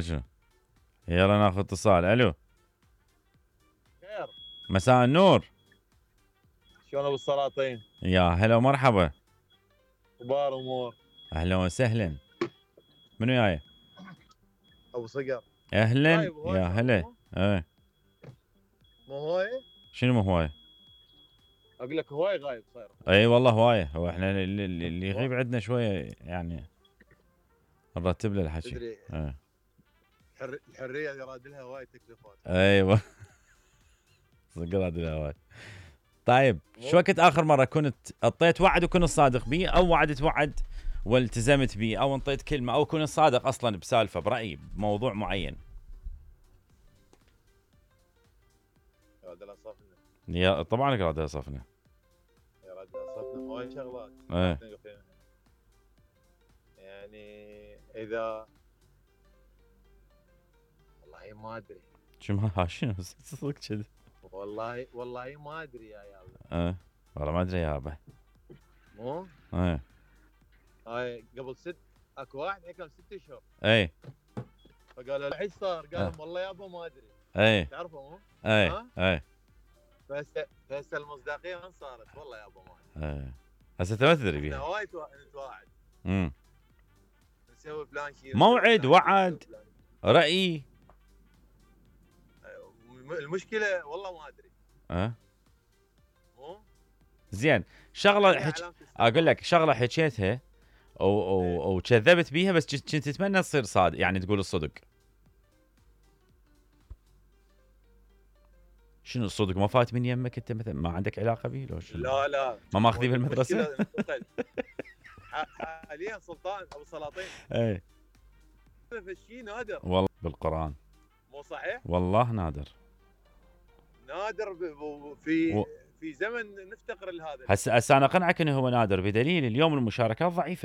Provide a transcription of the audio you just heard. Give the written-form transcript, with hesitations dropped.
شنو؟ يلا ناخذ اتصال. الو. خير. مساء النور. شلون ابو السلاطين؟ يا هلا ومرحبا. اخبار امور؟ اهلا وسهلا. منو جاي؟ ابو صقر. اهلا. طيب يا هلا. ايه. مو هواي؟ شنو مو هواي؟ اقول لك هواي غايب صاير. اي والله هوايه. هو احنا اللي يغيب عندنا شويه يعني نرتب له الحكي. تدري ايه. الحريه يراد لها هواي تكلفات. ايوه. صقر هذه الهواي. طيب شو وقت اخر مره كنت اعطيت وعد وكنت صادق بيه، او وعدت وعد والتزمت بيه، او انطيت كلمه، او كنت صادق اصلا بسالفه برايي بموضوع معين؟ يراد لها صفنه. يا طبعا يراد لها صفنه. يراد لها صفنه هواي شغلات. ايه. يعني اذا والله ما ادري. شنو صدق كذا؟ والله ما ادري يا يابا. ايه والله ما ادري يا يابا. مو؟ ايه. هاي قبل اكو واحد حكم 6 اشهر. ايه. فقالوا له ايش صار؟ قال لهم والله يابا ما ادري. ايه. تعرفه مو؟ ايه. ايه. فهسه المصداقيه وين صارت؟ والله يابا ما ادري. ايه. هسه ما تدري احنا بيها. هواي نتواعد. نسوي فلان شيء. موعد، وعد، راي. المشكله والله ما ادري. مو؟ زين شغله اقول لك شغله حكيتها وكذبت بيها، بس كنت تتمنى تصير صادق، يعني تقول الصدق. شنو الصدق؟ ما فات من يمك انت مثلا؟ ما عندك علاقه به لو شنو؟ لا ما ماخذيه بالمدرسه؟ حاليا سلطان ابو سلاطين. ايه. الشيء نادر والله بالقران. مو صحيح؟ والله نادر. نادر في زمن نفتقر لهذا. هسه انا اقنعك انه هو نادر بدليل اليوم المشاركات ضعيفه.